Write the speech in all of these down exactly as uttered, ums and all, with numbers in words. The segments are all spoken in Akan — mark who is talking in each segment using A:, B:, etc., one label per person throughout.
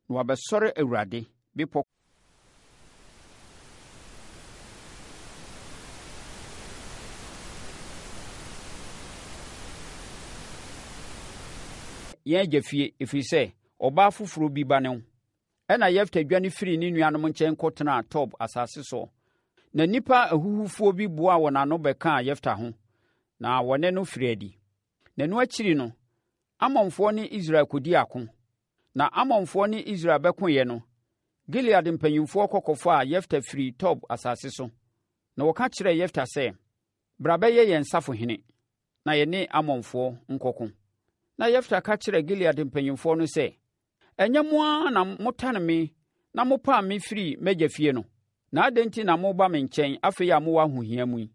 A: na wɔabɛsɔre Awurade, bepɔ. Yɛn agya fie, ɛfiri sɛ, ɔbaa foforɔ bi ba ne wo. Ɛnna Yefta dwane firii ne nuanom nkyɛn kɔtenaa Tob asase soɔ. Na nnipa ahuhufoɔ bi boaa wɔn ano bɛkaa Yefta ho, na wɔne no firii adi. Na ɛno akyiri no, Amonfoɔ ne Israel kɔdii ako. Na Amonfoɔ ne Israel bɛkoeɛ no, Gilead mpanimfoɔ kɔ kɔfaa Yefta firii Tob asase so. Na wɔka kyerɛɛ Yefta sɛ, Bra bɛyɛ yɛn safohene, na yɛne Amonfoɔ nkɔko. Na Yefta ka kyerɛɛ Gilead mpanimfoɔ no sɛ, Ɛnyɛ mo ara na motane me na mopam me firii m'agya fie no? Na adɛn nti na moreba me nkyɛn afei a mowɔ ahohia mu yi?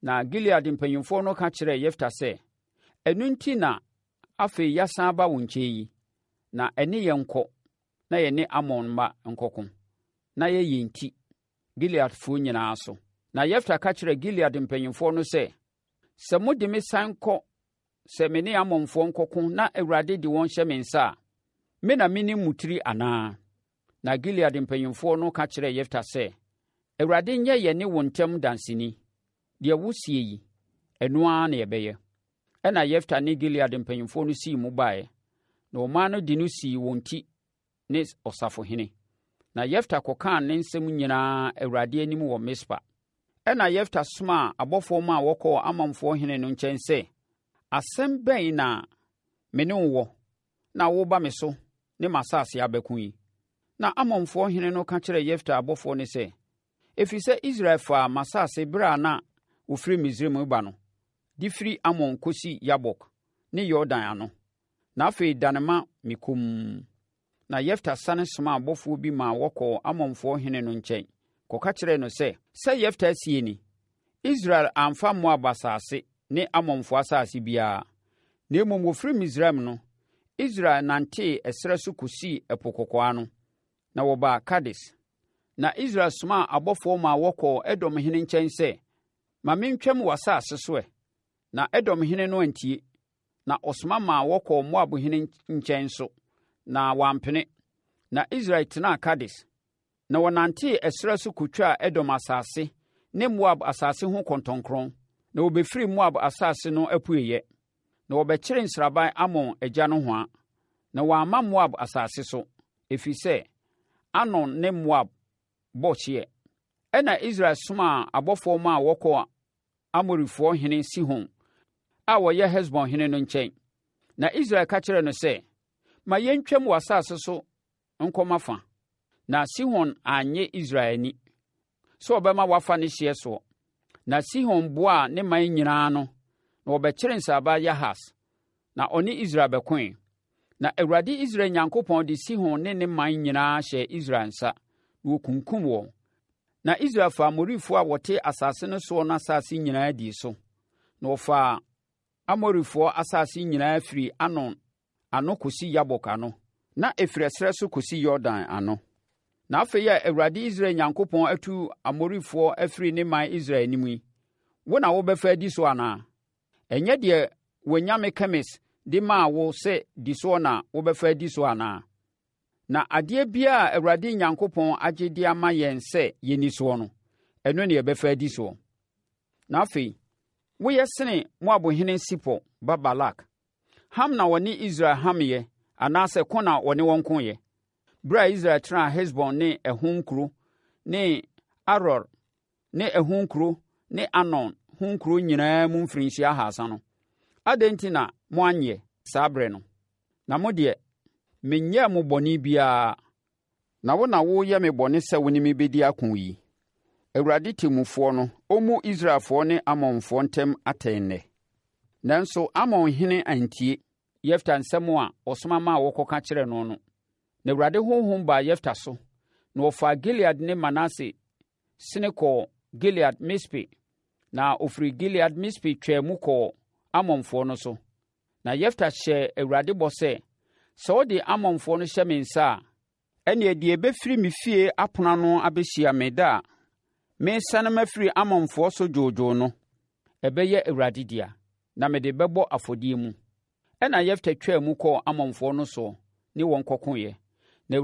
A: Na Gilead mpanimfoɔ no ka kyerɛɛ Yefta sɛ, Ɛno nti na afei yɛasan aba wo nkyɛn yi, na ɛne yɛn nkɔ na yɛne Amon mma nkɔko, na yɛ yɛn ti, Gileadfoɔ nyinaa so. Na Yefta ka kyerɛɛ Gilead mpanimfoɔ no sɛ, Sɛ mode me san kɔ sɛ me ne Amonfoɔ nkɔko na Awurade de wɔn hyɛ me nsa a, me na mene mo tiri anaa? Na Gilead mpanimfoɔ no ka kyerɛɛ Yefta sɛ, Awurade nyɛ yɛne wo ntam danseni. Deɛ woseɛ yi, ɛno ara na yɛbɛyɛ. Ɛnna Yefta ne Gilead mpanimfoɔ no sii mu baeɛ, na ɔman no de no sii wɔn ti ne ɔsafohene. Na Yefta kɔkaa ne nsɛm nyinaa Awurade anim wɔ Mispa. Ɛnna Yefta somaa abɔfoɔ maa wɔkɔɔ Amonfoɔ hene no nkyɛn sɛ, Asɛm bɛn na me ne wo wɔ na woreba me so ne m'asase abɛko yi? Na Amonfoɔ hene no ka kyerɛɛ Yefta abɔfoɔ no sɛ, Ɛfiri sɛ Israel faa m'asase berɛ a na wɔfiri Misraim reba no, de firi Amon kɔsi Yabok ne Yordan ano. Na afei dane ma me komm. Na Yefta sane somaa abɔfoɔ bi maa wɔkɔɔ Amonfoɔ hene no nkyɛn kɔka kyerɛɛ no sɛ, Sɛ Yefta seɛ ni, Israel amfa Moab asase ne Amonfoɔ asase biara, na mmom wɔfiri Misraim no, Israel nantee ɛserɛ so kɔsii Ɛpo Kɔkɔɔ ano, na wɔbaa Kades. Na Israel somaa abɔfoɔ maa wɔkɔɔ Edom hene nkyɛn sɛ, Ma mentwam w'asase so ɛ. Na Edom hene no antie, na ɔsoma maa wɔkɔɔ Moab hene nkyɛn nso, na wampene. Na Israel tenaa Kades. Na wɔnantee ɛserɛ so kɔtwaa Edom asase ne Moab asase ho kɔntɔnkrɔn, na wɔbɛfirii Moab asase no apueeɛ. Na wɔbɛkyeree nsraban Amon agya nohoa, na wɔamma Moab asase so, ɛfiri sɛ Arnon ne Moab bɔ hyeɛ. Ɛnna Israel somaa abɔfoɔ maa wɔkɔɔ Amorifoɔ hene Sihon a ɔyɛ Hesbon hene no nkyɛn. Na Israel ka kyerɛɛ no sɛ, Ma yɛntwam w'asase so nkɔ m'afa. Na Sihon annye Israel anni sɛ ɔbɛma wɔafa ne hyeɛ soɔ. Na Sihon boaa ne man nyinaa ano, na wɔbɛkyeree nsraban Yahas, na ɔne Israel bɛkoe. Na Awurade Israel Nyankopɔn de Sihon ne ne man nyinaa hyɛɛ Israel nsa, na wɔkunkum wɔn. Na Israel faa Amorifoɔ a wɔte asase no soɔ no asase nyinaa dii so, na wɔfaa Amorifoɔ asase nyinaa firi Arnon ano kɔsi Yabok ano, na ɛfiri ɛserɛ so kɔsi Yordan ano. Na afei a Awurade Israel Nyankopɔn atu Amorifoɔ afiri ne man Israel anim yi, wo na wobɛfa adi so anaa? Ɛnyɛ deɛ w'anyame Kemes de maa wo sɛ di soɔ na wobɛfa adi so anaa? Na adeɛ biara a Awurade Nyankopɔn agye de ama yɛn sɛ yɛnni soɔ no, ɛno na yɛbɛfa adi soɔ. Na afei, woyɛ sene Moabhene Sipor ba Balak. Ham na ɔne Israel hameeɛ anaasɛ ko na ɔne wɔn koeɛ? Berɛ a Israel tenaa Hesbon ne ɛho nkuro ne Aroer ne ɛho nkuro ne Arnon ho nkuro nyinaa mu mfirinhyia ahasa no, adɛn nti na moanyɛ saa berɛ no? Na mo deɛ, menyɛɛ mo bɔne biara, na wo na woreyɛ me bɔne sɛ wo ne me bɛdi ako yi. Awurade temmufoɔ no, ɔmmu Israelfoɔ ne Amonfoɔ ntam atɛn nnɛ. Nanso Amonhene antie Yefta nsɛm a ɔsoma maa wɔkɔka kyerɛɛ no no. Na Awurade honhom baa Yefta so, na ɔfaa Gilead ne Manase sene kɔɔ Gilead Mispe, na ɔfiri Gilead Mispe twaa mu kɔɔ Amonfoɔ no so. Na Yefta hyɛɛ Awurade bɔ sɛ, Sɛ wode Amonfoɔ no hyɛ me nsa a, ɛnneɛ deɛ ɛbɛfiri me fie apono ano abɛhyia me da a meresane mafiri Amonfoɔ so dwoodwoo no, ɛbɛyɛ Awurade dea, na mede bɛbɔ afɔdeɛ mu. Ɛnna Yefta twaa mu kɔɔ Amonfoɔ no soɔ ne wɔn kɔkoeɛ.